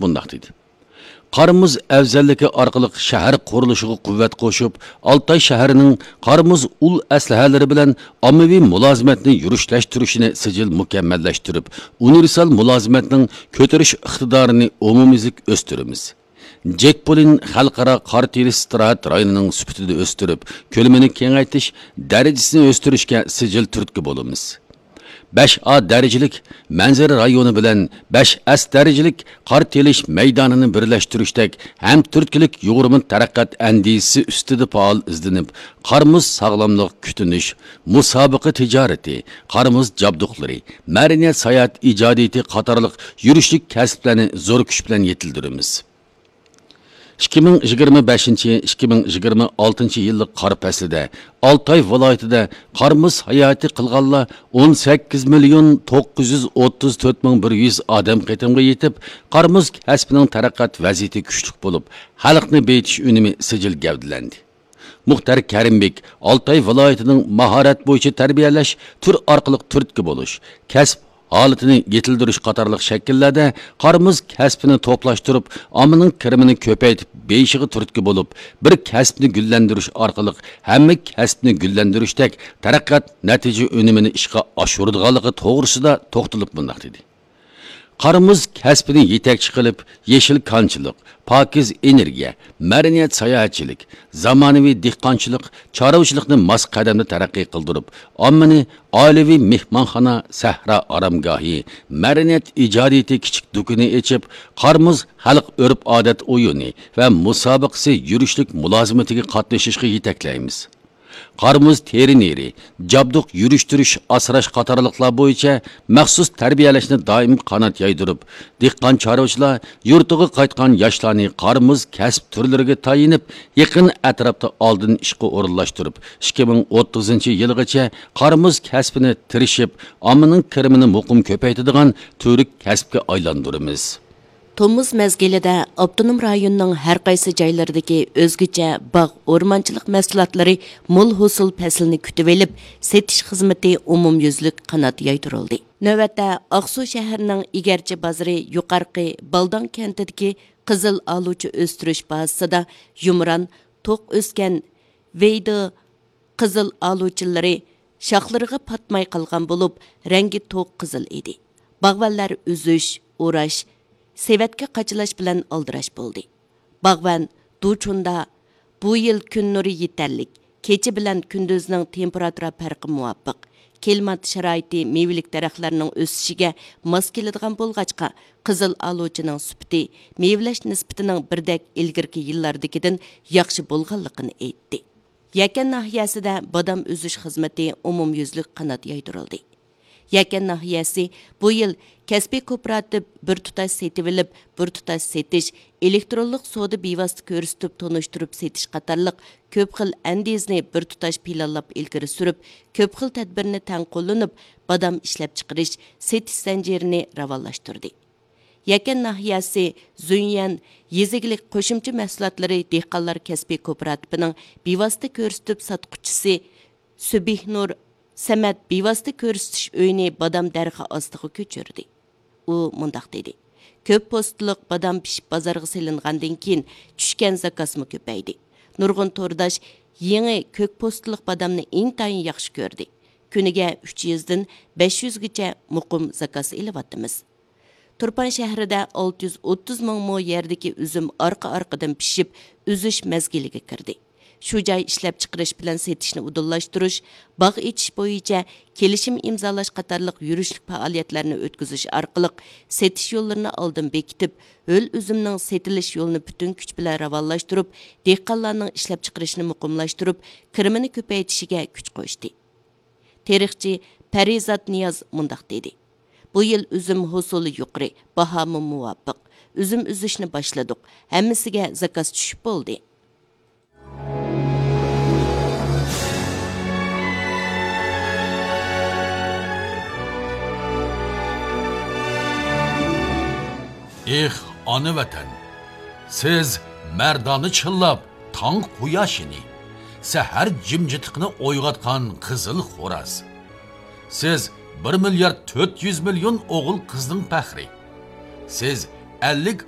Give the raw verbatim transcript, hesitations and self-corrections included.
مۇنداق دېدى: قار مۇز ئەۋزەللىكى ئارقىلىق شەھەر قۇرۇلۇشىغا قۇۋۋەت قوشۇپ، ئالتاي شەھىرىنىڭ قار مۇز ئۇل ئەسلىھەلىرى بىلەن ئاممىۋى مۇلازىمەتنى يۈرۈشلەشتۈرۈشىنى سىجىل مۇكەممەللەشتۈرۈپ، ئۇنىۋېرسال مۇلازىمەتنىڭ كۆتۈرۈش ئىقتىدارىنى ئومۇميۈزلۈك ئۆستۈرىمىز. جېكبولىن خەلقئارا قار تېرىش ئىستىراھەت رايونىنىڭ سۈپىتىنى ئۆستۈرۈپ، كۆلىمىنى كېڭەيتىش، دەرىجىسىنى ئۆستۈرۈشكە سىجىل تۈرتكە بولىمىز. بەش ئا دەرىجىلىك مەنزىرە رايونى بىلەن بەش ئەس دەرىجىلىك قار تېرىش مەيدانىنى بىرلەشتۈرۈشتەك ھەمتۈرتكىلىك يۇغۇرما تەرەققىيات ئەندىزىسى ئۈستىدە پائال ئىزدىنىپ، قار مۇز ساغلاملىق كۈتۈنۈش، مۇسابىقە تىجارىتى، قار مۇز جابدۇقلىرى، مەدەنىيەت ساياھەت ئىجادىيىتى قاتارلىق يۈرۈشلۈك كەسىپلەرنى زور كۈچ بىلەن يېتىلدۈرىمىز. ئىككى مىڭ يىگىرمە بەشىنچى، ئىككى مىڭ يىگىرمە ئالتىنچى يىللىق قار پەسلىدە ئالتاي ۋىلايىتىدە قار مۇز ساياھىتى قىلغانلار ئون سەككىز مىليون توققۇز يۈز ئوتتۇز تۆت مىڭ بىر يۈز ئادەم قېتىمغا يېتىپ، قار مۇز كەسپىنىڭ تەرەققىيات ۋەزىيىتى كۈچلۈك بولۇپ، خەلقنى بېيىتىش ئۈنۈمى سىجىل گەۋدىلەندى. مۇختەر كەرىمبېك ئالتاي ۋىلايىتىنىڭ ماھارەت بويىچە تەربىيەلەش تۈر ئارقىلىق تۈرتكە بولۇش، كەسىپ ھالىتىنى يېتىلدۈرۈش قاتارلىق شەكىللەردە قار مۇز كەسپىنى توپلاشتۇرۇپ، ئاممىنىڭ كىرىمىنى كۆپەيتىپ بېيىشىغا تۈرتكە بولۇپ، بىر كەسىپنى گۈللەندۈرۈش ئارقىلىق ھەممە كەسىپنى گۈللەندۈرۈشتەك تەرەققىيات نەتىجە ئۈنۈمىنى ئىشقا ئاشۇرىدىغانلىقى توغرىسىدا توختىلىپ مۇنداق دېدى: قار مۇز كەسپىنى يېتەكچى قىلىپ، يېشىل كانچىلىق، پاكىز ئېنېرگىيە، مەدەنىيەت ساياھەتچىلىك، زامانىۋى دېھقانچىلىق، چارۋىچىلىقنى ماس قەدەمدە تەرەققىي قىلدۇرۇپ، ئاممىنى ئائىلىۋى مېھمانخانا، سەھرا ئارامگاھى، مەدەنىيەت ئىجادىيىتى كىچىك دۇكىنى ئېچىپ، قار مۇز خەلق ئۆرپ-ئادەت ئويۇنى ۋە مۇسابىقىسى يۈرۈشلۈك مۇلازىمىتىگە قاتنىشىشقا يېتەكلەيمىز. قار مۇز تېرە نېرى، جابدۇق يۈرۈشتۈرۈش، ئاسراش قاتارلىقلار بويىچە مەخسۇس تەربىيەلەشنى دائىم قانات يايدۇرۇپ، دېھقان چارۋىچىلار يۇرتىغا قايتقان ياشلارنى قار مۇز كەسىپ تۈرلىرىگە تايىنىپ، يېقىن ئەتراپتا ئالدىن ئىشقا ئورۇنلاشتۇرۇپ، ئىككى مىڭ ئوتتۇزىنچى يىلىغىچە قار مۇز كەسپىنى تىرىشىپ، ئاممىنىڭ كىرىمىنى مۇقىم كۆپەيتىدىغان تۈۋرۈك كەسىپكە ئايلاندۇرىمىز. تومۇز مەزگىلىدە ئاپتونوم رايوننىڭ ھەر قايسى جايلىرىدىكى ئۆزگىچە باغ، ئورمانچىلىق مەھسۇلاتلىرى مول ھوسۇل پەسلىنى كۈتۈۋېلىپ، سېتىش خىزمىتى ئومۇميۈزلۈك قانات يايدۇرۇلدى. نۆۋەتتە ئاقسۇ شەھىرىنىڭ ئىگەرچى بازىرى يۇقارقى بالداڭ كەنتىدىكى قىزىل ئالۇچا ئۆستۈرۈش بازىسىدا يۇمران، توق ئۆسكەن ۋېيدې قىزىل ئالۇچىلىرى شاخلىرىغا پاتماي قالغان بولۇپ، رەڭگى توق قىزىل ئىدى. باغۋەنلەر ئۈزۈش، ئوراش، سېۋەتكە قاچىلاش بىلەن ئالدىراش بولدى. باغۋەن دۇچۇندا بۇ يىل كۈن نۇرى يېتەرلىك، كېچە بىلەن كۈندۈزنىڭ تېمپېراتۇرا پەرقى مۇۋاپىق، كىلىمات شارائىتى مېۋىلىك دەرەخلەرنىڭ ئۆسۈشىگە ماس كېلىدىغان بولغاچقا، قىزىل ئالۇچىنىڭ سۈپىتى مېۋىلەش نىسبىتىنىڭ بىردەك ئىلگىرىكى يىللاردىكىدىن ياخشى بولغانلىقىنى ئېيتتى. يەكەن ناھىيەسىدە بادام ئۈزۈش خىزمىتى ئومۇميۈزلۈك قانات يايدۇرۇلدى. يەكەن ناھىيەسى بۇ يىل كەسپىي كوپىراتىپ بىر تۇتاش سېتىۋېلىپ، بىر تۇتاش سېتىش، ئېلېكترونلۇق سودا بىۋاسىتە كۆرسىتىپ تونۇشتۇرۇپ سېتىش قاتارلىق كۆپ خىل ئەندىزىنى بىر تۇتاش پىلانلاپ ئىلگىرى سۈرۈپ، كۆپ خىل تەدبىرنى تەڭ قوللىنىپ، بادام ئىشلەپچىقىرىش، سېتىش زەنجىرىنى راۋانلاشتۇردى. يەكەن ناھىيەسى زۈنيەن يېزا ئىگىلىك قوشۇمچە مەھسۇلاتلىرى دېھقانلار كەسپىي كوپىراتىپىنىڭ بىۋاسىتە كۆرسىتىپ ساتقۇچىسى سۈبھىنۇر سەمەت بىۋاسىتە كۆرسىتىش ئۆيىنى بادام دەرىخى ئاستىغا كۆچۈردى. ئۇ مۇنداق دېدى: كۆپ پوستىلىق بادام پىشىپ بازارغا سېلىنغاندىن كېيىن، چۈشكەن زاكازمۇ كۆپەيدى. نۇرغۇن تورداش يېڭى كۆك پوستىلىق بادامنى ئىنتايىن ياخشى كۆردى. كۈنىگە ئۈچ يۈزدىن بەش يۈزگىچە مۇقىم زاكاز ئېلىۋاتىمىز. تۇرپان شەھىرىدە ئالتە يۈز ئوتتۇز مىڭ مو يەردىكى ئۈزۈم ئارقا-ئارقىدىن پىشىپ، ئۈزۈش مەزگىلىگە كىردى. شۇ جاي ئىشلەپچىقىرىش بىلەن سېتىشنى ئۇدۇللاشتۇرۇش، باغ ئېچىش بويىچە كېلىشىم ئىمزالاش قاتارلىق يۈرۈشلۈك پائالىيەتلەرنى ئۆتكۈزۈش ئارقىلىق سېتىش يوللىرىنى ئالدىن بېكىتىپ، ھۆل ئۈزۈمنىڭ سېتىلىش يولىنى پۈتۈن كۈچ بىلەن راۋانلاشتۇرۇپ، دېھقانلارنىڭ ئىشلەپچىقىرىشنى مۇقىملاشتۇرۇپ، كىرىمىنى كۆپەيتىشىگە كۈچ قوشتى. تېرىقچى پەرىزات نىياز مۇنداق دېدى: بۇ يىل ئۈزۈم ھوسۇلى يۇقىرى، باھامۇ مۇۋاپىق. ئۈزۈم ئۈزۈشنى باشلىدۇق. ھەممىسىگە زاكاز چۈشۈپ بولدى. ئېھ، ئانا ۋەتەن! سىز مەردانە چىللاپ، تاڭ قۇياشىنى، سەھەر جىمجىتلىقىنى ئويغاتقان قىزىل خوراز. سىز بىر مىليارد تۆت يۈز مىليون ئوغۇل-قىزنىڭ پەخرى. سىز ئەللىك